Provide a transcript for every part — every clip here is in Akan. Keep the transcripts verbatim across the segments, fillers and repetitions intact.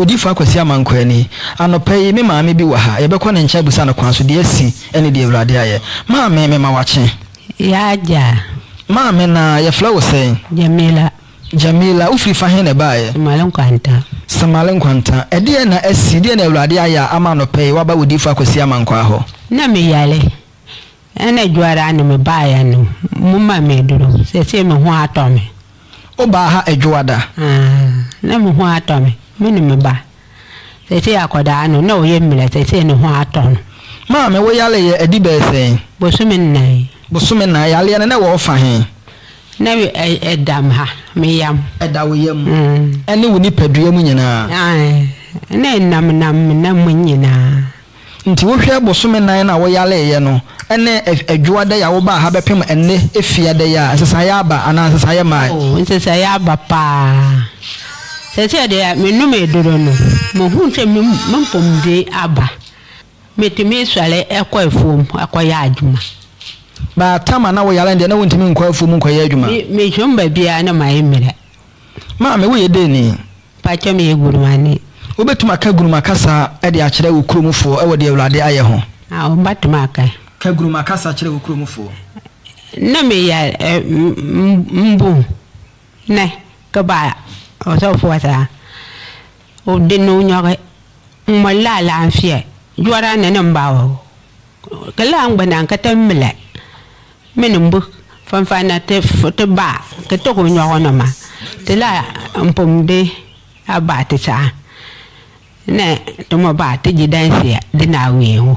Odiyifoɔ Akwasi Amankwaa ni. Anɔpa yi, me maame bi wɔ ha. Yɛbɛkɔ ne nkyɛn abisa no kwan so deɛ asi ne deɛ Awurade ayɛ. Maame, mema wakye. Y'agya. Maame, na yɛfrɛ wo sɛn? Jamila. Jamila, wofiri fa he na ɛbaeɛ? Semale Nkwanta. Semale Nkwanta. Ɛdeɛn na asi, deɛn na Awurade ayɛ a ama anɔpa yi woaba Odiyifoɔ Akwasi Amankwaa hɔ? Na meyare. Ɛna Dwoada no mebaeɛ no, moma me aduro. Seesei me ho atɔ me. Wobaa ha Dwoada? Aane, na me ho atɔ me, me ne me ba. Seesei akwadaa no, na ɔyɛ mmerɛ, seesei ne ho atɔ no. Maame, wo yareɛ adi bɛyɛ sɛn? Bosome nnan. Bosome nnan. Yareɛ no, na ɛwɔ wo fa he? Na ɛda me ha, me yam. Ɛda wo yam? Ɛne wo nipadua mu nyinaa? Aane, na ɛnamnam me nam mu nyinaa. Nti wohwɛ bosome nnan no a woyareeɛ no ne Adwoada yi a wobaa ha bɛpem ɛnnɛ Efiada yi a, nsesaeɛ aba anaa nsesaeɛ mmae? Oh, nsesaeɛ aba paa. Seesei deɛ menom aduro no, mehu sɛ me mpɔmuden aba. Metumi sɔre kɔ afuom kɔyɛ adwuma. But tam a na woyare no deɛ, na wontumi nkɔ afuom nkɔyɛ adwuma? Me, mehwam baabiara na mayɛ mmerɛ. Maame, woyɛ dɛn ni? Mpakyɛ meyɛ Gurumani. Wobɛtumi aka Guruma kasa de akyerɛ wo kuromfoɔ wɔ deɛ Awurade ayɛ ho? Ah, mɛtumi aka. Ka Guruma kasa kyerɛ wo kuromfoɔ. Na meyɛ mbu ne ka ba ɔsɔfoɔ saa ɔde no nyɔge mmɔ la alaafeɛ juara ne ne mba wɔ ka la ngbana ka te mile mini mbu fanfana te te ba ka te ko nyɔge no ma te la mpomde aba te saa ne te mo ba te gye danseɛ de na awie ho.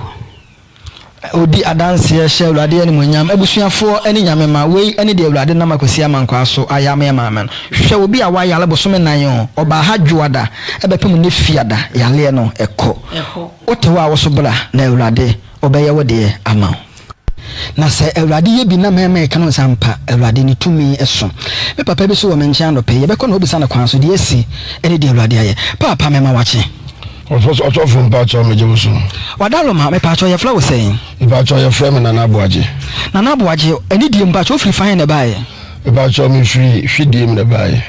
Odi adanseɛ hyɛ Awurade animuonyam. Abusuafoɔ ne Nyame mma, wei ne deɛ Awurade nam Akwasi Amankwaa so ayɛ ama yɛn maame no. Hwɛ obi a wayare bosome nnan o, ɔbaa ha Dwoada bɛpem nnɛ Fiada, yareɛ no ɛkɔ. Wote hɔ a wo so bra na Awurade ɔbɛyɛ wo deɛ ama wo. Na sɛ Awurade yɛ bi na mɛma ɛka no sɛ ampa Awurade ne tumi so. Me papa bi so wɔ me nkyɛn anɔpa yi, yɛbɛkɔ na wabisa no kwan so deɛ asi ne deɛ Awurade ayɛ. Paapa mema wakye. Ɔsɔfo mpakyɛw megye wo so. Wadaroma, mepakyɛw yɛfrɛ wo sɛn? Mepakyɛw yɛfrɛ me Nana Aboagye. Nana Aboagye, anidie mu mpakyɛw wofiri fa he na ɛbaeɛ? Mepakyɛw mefiri Hwidiem na ɛbaeɛ.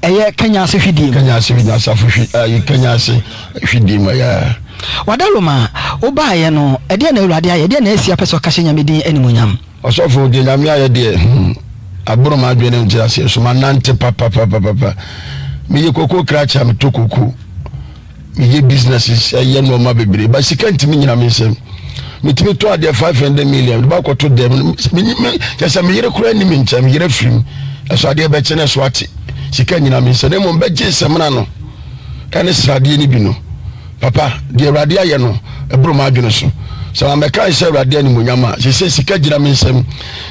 Ɛyɛ Kenya ase Hwidiem? Kenya ase Hwidiem, asafo hwi, ayi Kenya ase Hwidiem ɛyɛ. Wadaroma, wobaeɛ no, ɛdeɛn na Awurade ayɛ? Ɛdeɛn na asi apɛ sɛ ɔka hyɛ Nyame din animuonyam? Ɔsɔfo, deɛ Nyame ayɛ deɛ, hmm, aboro m'adwene ne nteaseɛ so, manante papapapapa. Meyɛ koko krakye a metɔ koko. Meyɛ businesses, ɛyɛ nneɛma bebree, ba sika ntumi nyina me nsam. Metumi tɔ adeɛ five hundred million, de bakɔto dɛm. Kyɛ sɛ me yere koraa nni me nkyɛn, me yere afiri mu. Ɛso adeɛ bɛkye no ɛso ate. Sika nyina me nsam. Na mmom bɛgye samina no ɛne sradeɛ no bi no. Papa, deɛ Awurade ayɛ no, ɛboro m'adwene so. Sɛ mammɛka nhyɛ Awurade animuonyam a, seesei sika gyina me nsam.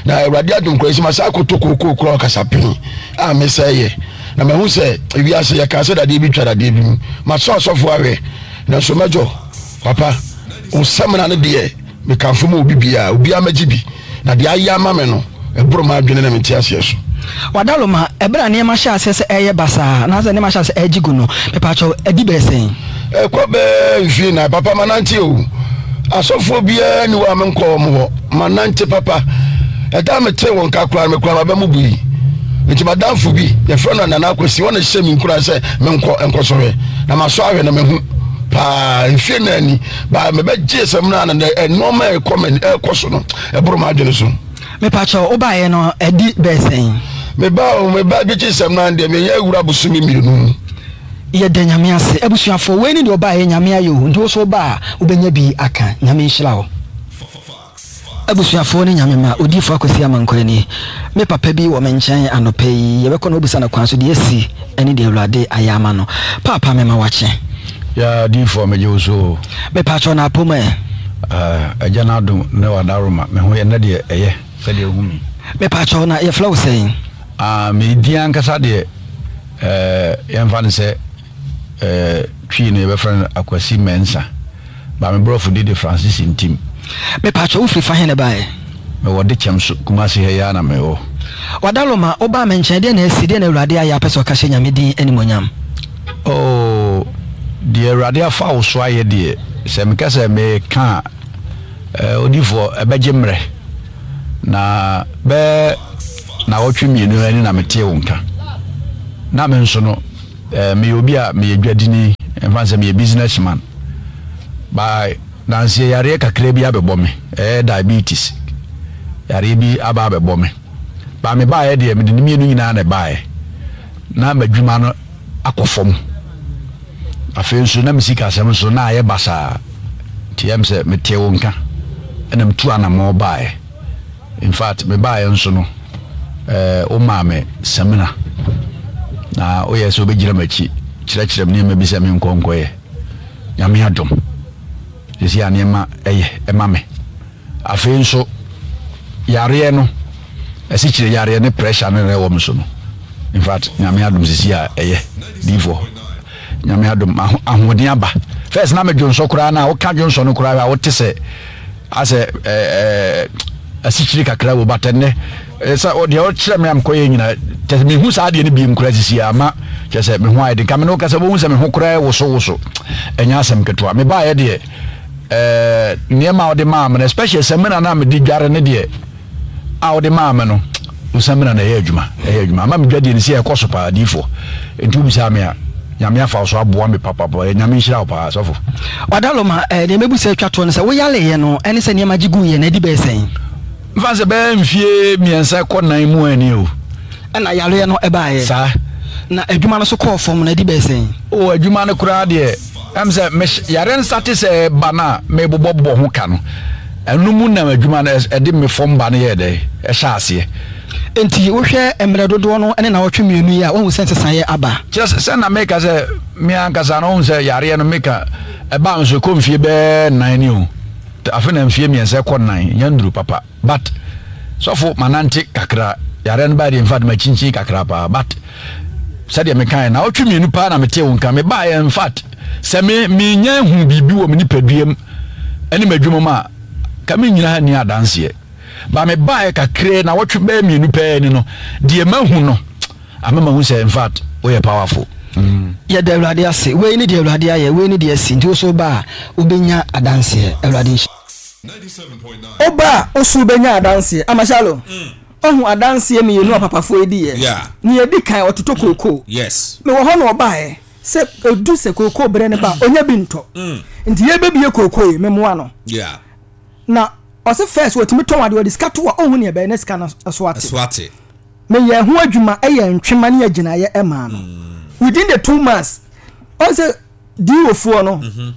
Na Awurade adom koraa, esi masan akɔtɔ kookoo koraa ɔkasapɛn a mesɛe yɛ. Na mahu sɛ ewiase yɛkaa sɛ dadeɛ bi twa dadeɛ bi mu. Masɔ asɔfo ahwɛ, nanso mɛdwo. Papa, wo samina no deɛ, mekamfo ma obi biara, obiara mɛgye bi. Na deɛ ayɛ ama me no, ɛboro m'adwene ne me nteaseɛ so. Wadaloma, ɛberɛ a nneɛma hyɛɛ aseɛ sɛ ɛreyɛ basaa, anaasɛ nneɛma hyɛɛ aseɛ ɛregye gu no, mepaakyɛw, adi bɛyɛ sɛn? Ɛkɔ bɛyɛ mfie nnan. Papa, manante o. Asɔfoɔ biara nni hɔ a menkɔɔ wɔn hɔ. Manante papa. Ɛda a metee wɔn nka koraa no, me koraa m'aba mu bui. Nti m'adamfo bi, yɛfrɛ no Nana Akwasi, ɔna ɛhyɛɛ me nkuran sɛ menkɔ nkɔsɔhwɛ. Na masɔ ahwɛ na mahu paa. Mfie nnan ni, baa mebɛgyee samina no, na nneɛma a ɛkɔ m'ani ɛrekɔ so no, ɛboro m'adwene so. Mepakyɛw, wobaeɛ no adi bɛyɛ sɛn? Mebaa o, mebaa bɛgyee samina no deɛ, meyɛ awura bosome mmienu mu. Yɛda Nyame ase. Abusuafoɔ, wei ne deɛ ɔbaeɛ, Nyame ayɛ o, nti wo nso woba a, wobɛnya bi aka. Nyame nhyira wo. Abusuafoɔ ne Nyame mma, Odiyifoɔ Akwasi Amankwah nie. Me papa bi wɔ me nkyɛn anɔpa yi, yɛbɛkɔ na wabisa no kwan so deɛ asi ne deɛ Awurade ayɛ ama no. Paapa mema wakye. Yaa Odiyifoɔ megye wo so o. Mepaakyɛw na apom ɛ? Ah, Agya no adom ne w'adaworoma, me ho yɛ nnɛ deɛ ɛyɛ sɛdeɛ wohu me yi. Mepaakyɛw na yɛfrɛ wo sɛn? Ah, me din ankasa deɛ eh, yɛmfa no sɛ eh, Twi no yɛbɛfrɛ no Akwasi Mensah. Ba me brɔfo din de Francis Ntim. Me pakyɛ wo firi fa he na ɛbaeɛ? Me wɔ Dekyɛm so, Kumasi ha yi ara na me wɔ. Wadaloma, wo baa me nkyɛn, deɛn na asi, deɛn na Awurade ayɛ a wopɛ sɛ ɔka hyɛ Nyame din animuonyam? Oh, deɛ Awurade afa wo so ayɛ deɛ, sɛ meka sɛ meka a, eh, odiyifoɔ, ɛbɛgye mmerɛ. Na bɛyɛ nnawɔtwe mmienu ani na metee wo nka. Na me nso no, Eh, meyɛ obi a meyɛ dwadini, Ɛmfa sɛ meyɛ business man by nanseɛ yareɛ kakra bi abɛbɔ me, ɛyɛ diabetes yareɛ bi aba abɛbɔ me. Ba me baeɛ deɛ, mede ne mmienu nyinaa na ɛbaeɛ. Na m'adwuma no akɔ fam, afei nso na me sikasɛm nso na ayɛ basaa, nti ɛm sɛ metee wo nka ɛna metu anammɔ baeɛ. In fact, mebaeɛ nso no, ɛɛ womaa me samina na woyɛ sɛ wobɛgyina m'akyi kyerɛkyerɛ me nneɛma bi sɛ menkɔ nkɔyɛ. Nyame adom, sɛsi a nneɛma ɛyɛ ɛma me. Afei nso yareɛ no, ɛsikyire yareɛ ne pressure no na ɛwɔ me so no, in fact, Nyame adom, sisi a ɛyɛ diifoɔ. Nyame adom, ahoɔden aba. First na medwonsɔ koraa na woka dwonsɔ no koraa a, wote sɛ asɛ ɛɛ asikyire kakra wɔ batɛ. Nnɛ sɛ deɛ ɔkyerɛ me a mekɔyɛ nyina kyɛ sɛ mehu saa adeɛ no biem koraa sisi a, ama kyɛ sɛ me ho ayɛ den. Ka me ne woka sɛ wobɛhu sɛ me ho koraa woso woso, ɛnyɛ asɛm ketewa. Mebaeɛ deɛ, ɛɛ nneɛma a wode maa me no, especially samina no a mede dware ne deɛ a wode maa me no, wo samina no ɛyɛ adwuma, ɛyɛ adwuma ama me dwadeɛ no si ɛkɔ so paa, diifoɔ. Nti wobisa me a, Nyame afa wo so aboa me papapa. Nyame nhyira wo paa, sɔfo. Wadaloma, eh, deɛ mɛbu sɛ atwa toɔ no sɛ woyaleyɛ no ɛne sɛ nneɛma gye guiɛ no adi bɛyɛ sɛn? Mfa sɛ bɛyɛ mfie mmiɛnsa kɔ nan mu ani o. Ɛna yareɛ no ɛbaeɛ? Saa. Na adwuma no so kɔɔ fam no adi bɛyɛ sɛn? O, adwuma no koraa deɛ, ɛm sɛ yare nsa te sɛ ba no a mebobɔbobɔ ho ka no, ɛno mu nam adwuma no ɛde me fam ba no yɛɛ dɛ ɛhyɛ aseɛ. Nti wohwɛ mmerɛ dodoɔ no ne nawɔtwe mmienu yi a, woahu sɛ nsesaeɛ aba? Kyerɛ sɛ sɛ na meka sɛ me ankasa no, wohu sɛ yareɛ no meka ɛbaa me so ɛkɔ mfie bɛɛ nan ni o. Afe na mfie mmiɛnsa ɛkɔ nan nya nduru papa, but sɔfo, manante kakra. Yareɛ no baa deɛ, in fact, makyinkyin kakra paa, but sɛdeɛ mekaeɛ na ɔtwe mmienu paa na metee wo nka mebaeɛ. In fact, sɛ me menya hu biribi wɔ me nipadua mu ɛne m'adwuma mu a, ka mennyina ha nni adanseɛ. Ba mebaeɛ kakra na wɔtwe bɛyɛ mmienu pɛɛ ni no, deɛ mahu no ama mahu sɛ in fact woyɛ powerful. mm. Yɛda Awurade ase. Wei ne deɛ Awurade ayɛ, wei ne deɛ asi. Nti wo so ba a, wobɛnya adanseɛ. Awurade nhyɛ woba a, wo so wobɛnya adanseɛ. Amahyalo ɔhu adanseɛ mmienu a papafoɔ yi diiɛ. Yeah. Ne yɛdi kan, ɔtotɔ kookoo. Yes. Mewɔ hɔ na ɔbaeɛ sɛ ɛdu sɛ kookoo berɛ no ba a, ɔnya bi ntɔ, nti yɛbɛbie kookoo yi memmoa no. Yeah. Na ɔsɛ first wɔtumi tɔn adeɛ, ɔde sika to a, ɔhu neɛ ɛbɛyɛ na sika no so ate. Ɛso ate. Meyɛ ho adwuma, ɛyɛ ntwema ne agyinaeɛ ɛmaa no. Within the two months, ɔn sɛ diiwofoɔ no,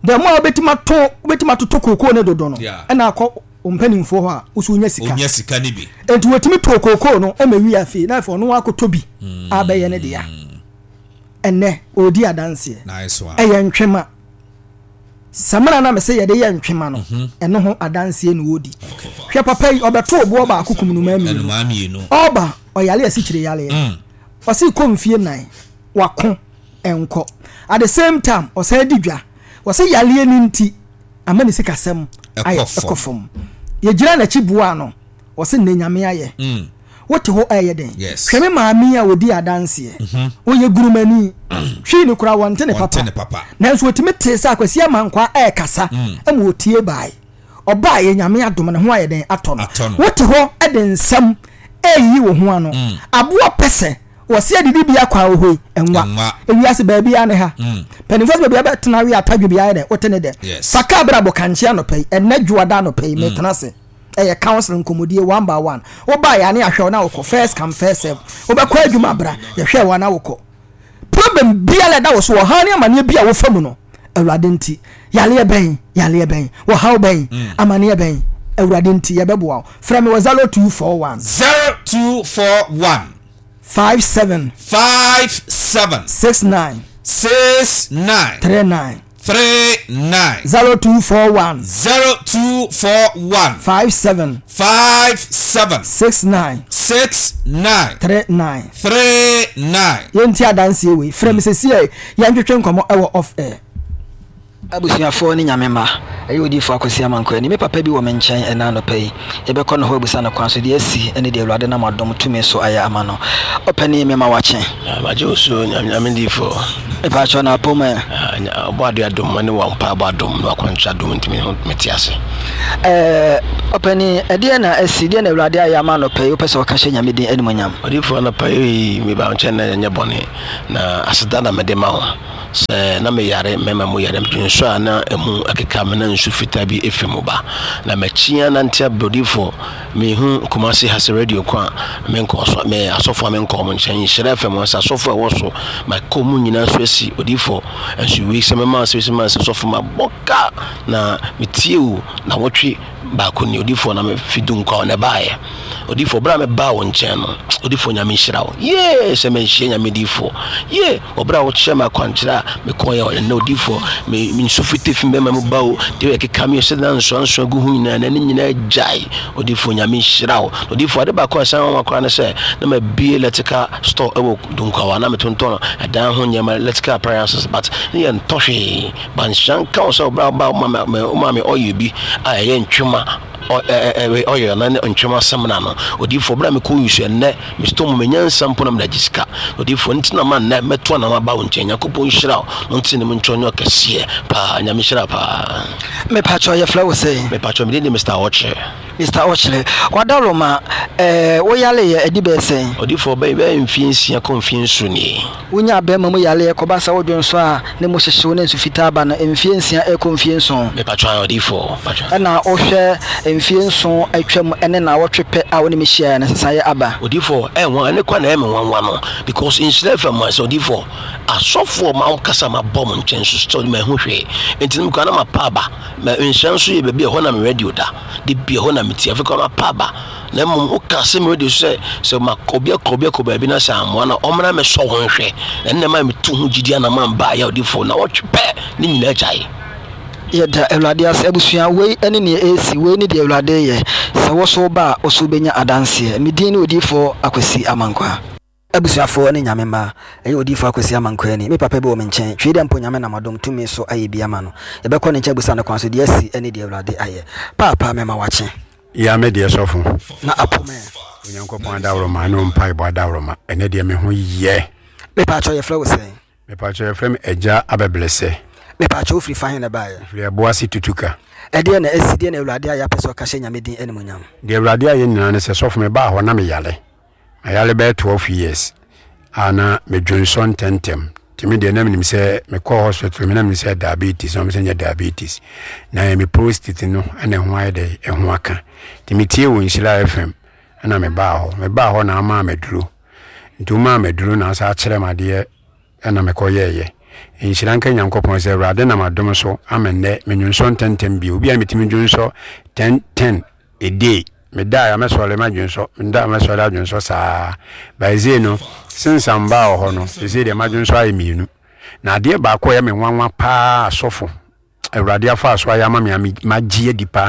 the more a wobɛtumi atɔ, wobɛtumi atotɔ kookoo ne dodo no, Yeah. ɛna akɔ mpanimfoɔ hɔ a woso wonya sika. Onya sika ni bi. Nti wɔtumi tɔɔ kookoo no ɛma wi afei na afei ɔno akɔtɔ bi abɛyɛ ne dea. Ɛnɛ ɔredi adanseɛ. Nice one. Ɛyɛ ntwema samina na mese yɛde yɛ ntwema no, ɛno ho adanseɛ na ɔredi. Hwɛ papa yi, ɔbɛto boɔ baako kum nnomaa mmienu. Ɛnumaa mmienu. Ɔba ɔyale asikyire yaleɛ, ɔsi kɔ mfie nan wako nkɔ. At the same time ɔsan di dwa. Wɔsi yaleɛ ne nti ama ne sikasɛm ayɛ Ɛkɔ fam. ɛkɔ fam. Yɛgyina n'akyi boa no, wɔsi ne Nyame ayɛ. Wote hɔ ɛyɛ den? Yes. Hwɛ me maame yi a ɔdi adanseɛ, ɔyɛ gurumani, hwii ne kora wɔnte ne Wɔnte papa. ne papa. Nanso wɔtumi tee sɛ Akwasi Amankwaa ɛɛkasa ma ɔtie bae. Ɔbaa yɛ, Nyame adom, ne ho ayɛ den atɔ no. Atɔ no. Wote hɔ de nsɛm ɛyi wo ho ano, aboa pɛ sɛ wɔse adidi bi akɔ a wɔ hɔ yi ɛnwa. Ɛnwa. Ewiase baabi a ne ha mpanimfoɔ sɛ baabi a bɛtena we atadwe bi ayɛ dɛ wote ne dɛ. Yes. Fa kaa berɛ abɔ kankye anɔpa yi, ɛnɛ dwoada anɔpa yi metena ase, ɛyɛ council nkɔmmɔdie one by one. Wobaa yɛ ane ahwɛ wo na wokɔ, first come first serve. Wobɛkɔ adwuma bra, yɛhwɛ wo ana wokɔ. Problem biara ɛda wo so, ɔhaw ne amanneɛ bi a wofa mu no, Awurade nti, yaleɛ bɛn, yaleɛ bɛn, wɔhaw bɛn, amanneɛ bɛn, Awurade nti yɛbɛboa wo. Frɛ me wɔ zero two four one Zero two four one five seven five seven six nine six nine three nine three nine zero two four one zero two four one five seven five seven six nine six nine three nine three nine. Yɛnti adanseɛ wei, frɛ me sɛsi a yɛntwetwe nkɔmmɔ ɛwɔ off air. Abusuafoɔ ne Nyame ma ɛyɛ odiyifoɔ Akwasi Amankwa ani. Me papa bi wɔ me nkyɛn ɛna anɔpa yi, yɛbɛkɔ ne hɔ abusa no kwan so deɛ asi ne deɛ Awurade nam adom tumi so ayɛ ama no. Ɔpɛni, mema wakye. Magye wo so, Nyame difoɔ. Mepaakyɛw, na apɔ mu ɛ? Ɔbɔ ade adom ne wa mpaebɔ adom ne wakwankyerɛ adom, ntimi ho mete ase. Ɛɛ, ɔpanin, ɛdeɛn na asi? Deɛn na Awurade ayɛ ama anɔpa yi wopɛ sɛ ɔka hyɛ Nyame din animuonyam? Odiyifoɔ, anɔpa yi meba wo nkyɛn na ɛnyɛ bɔne, na aseda na mede ma wo sɛ na meyare mmarima mu yare, dwonsɔ a na ɛmu ɛkeka me na nsu fitaa bi ɛfiri mu ba. Na makyi anante aba odiyifoɔ, mehu Kumasi ha sɛ radio ko a menkɔɔ so, me asɔfoɔ a menkɔɔ mo nkyɛn, Nhyira F M sɛ asɔfoɔ a ɛwɔ so, makɔ mu nyinaa so asi odiyifoɔ, nso wei sɛ mɛma sɛ wei sɛ mɛma sɛ sɔfo mabɔ ka na metie o na wɔtwe baako ni odifoɔ na mefi dunkwa na ɛbaeɛ odifoɔ berɛ a mebaa wo nkyɛn no odifoɔ Nyame nhyira wo yee sɛ manhyia Nyame difoɔ yee ɔberɛ a wokyerɛ me akwankyerɛ a mekɔyɛ ɛnɛ odifoɔ me nsu fite fi bɛma mu ba o deɛ ɛkeka me sɛ na nsoansoa gu ho nyinaa na ne nyinaa gyae odifoɔ Nyame nhyira wo odifoɔ ade baako a ɛsan nwanwa koraa ne sɛ na mabie electrical store ɛwɔ dunkwa na metontɔn ɛdan ho nneɛma electrical appliances but ne yɛ ntɔ hwee Banhyira nka wo sɛ wo bra ba woma me oil bi a ɛyɛ ntwema oil na ne ntwema samina no odiyifoɔ bra mekɔ yusu ɛnnɛ mestɔ mu menya nsa mpo na mede agye sika odiyifoɔ nti na ma nnɛ mɛto anam aba wo nkyɛn Nyankopɔn nhyira wo na ɔnte ne mu nkyɛ ɔnyɛ ɔkɛseɛ paa Nyame nhyira paa. Mepakyɛw yɛfrɛ wo sɛn? Mepakyɛw me din de Mister Ɔkyere. Mister Ɔkyere, Wadaroma, eh, wo yareɛ adi bɛyɛ sɛn? Odiyifoɔ, bɛyɛ bɛyɛ mfeɛ nsia kɔ mfeɛ nson nie. Wonyaa bɛrima mu yareɛ kɔba sɛ wodwo nsɔ a ne mu hyehye wo ne nsu fitaa ba no mfeɛ nsia rekɔ mfeɛ nson. Mepatwɔ ae odiyifoɔ, patwɔ. Ɛna wohwɛ mfeɛ nson atwam ne naawɔtwe pɛ a wo ne me hyiaeɛ no nsesaeɛ aba. Odiyifoɔ, ɛyɛ nwanwa, ɛno koraa na ɛyɛ me nwanwa no because nhyira F M sɛ odiyifoɔ, asɔfoɔ mankasa mabɔ mo nkyɛn nso still manhu hwee nti no me koraa na mapa aba, ma nhyira nso yɛ baabi a ɛhɔ na me radio da. De bia hɔ na metie, afei koraa mapa aba, na mmom woka asɛm radio so sɛ sɛ ma obi akɔ obi akɔ baabi na sɛ amoa na ɔmmra mɛsɔ ho nhwɛ, na ɛnna ma metu ho gyidi anam amba ayɛ ɔdifo na wɔtwe pɛ ne nyinaa gyae. Yɛda Awurade ase abusua, wei ne nea ɛresi, wei ne deɛ Awurade reyɛ, sɛ wo so woba a wo so wobɛnya adanseɛ. Me din ne Odiyifoɔ Akwasi Amankwaa. Abusuafoɔ ne Nyame mma, ɛyɛ Odiyifoɔ Akwasi Amankwaa ni. Me papa bi wɔ me nkyɛn, twei dɛ mpo Nyame nam adom tumi so ayɛ bi ama no. Yɛbɛkɔ ne nkyɛn abusa no kwan so deɛ asi ne deɛ Awurade ayɛ. Paapa mema wakye. Ya me deɛ sɔfo. Na apo me. Onyankopɔn adaworoma ne wo mpaebɔ adaworoma ɛnɛ deɛ me ho yɛ. Mepaakyɛw yɛfrɛ wo sɛn? Mepaakyɛw yɛfrɛ me Agya Abɛbrɛsɛ. Mepaakyɛw wofiri fa he na ɛbaeɛ? Mefiri Ɛboase Tutuka. Ɛdeɛn na asi, deɛn na Awurade ayɛ apɛ sɛ ɔka hyɛ Nyame din animuonyam? Deɛ Awurade ayɛ nyinaa ne sɛ sɔfo mebaa hɔ na meyare. Mayare bɛyɛ twelve years a na medwonsɔ ntɛntɛm nti me deɛ na menim sɛ mekɔɔ hospital me na menim sɛ diabetes na wɔn sɛ nyɛ diabetes na ɛyɛ me prostate no ɛna ɛho ayɛ dɛ ɛho aka nti metie wɔ Nhyira F M ɛna mebaa hɔ mebaa hɔ na ama maduro nti wɔmaa maduro na asa akyerɛ me adeɛ ɛna mekɔyɛɛyɛ. Nhyira nka Nyankopɔn sɛ Awurade nam adom so ama nnɛ menwonsɔ ntɛntɛm bio. Obi a metumi dwonsɔ ten ten a day, meda a mɛsɔre madwonsɔ, meda a mɛsɔre adwonsɔ saa. By sei no, since a mbaa wɔ hɔ no, seesei deɛ madwonsɔ ayɛ mmienu. Na adeɛ baako a ɛyɛ me nwanwa paa asɔfo, Awurade afa so ayɛ ama me a magye adi paa.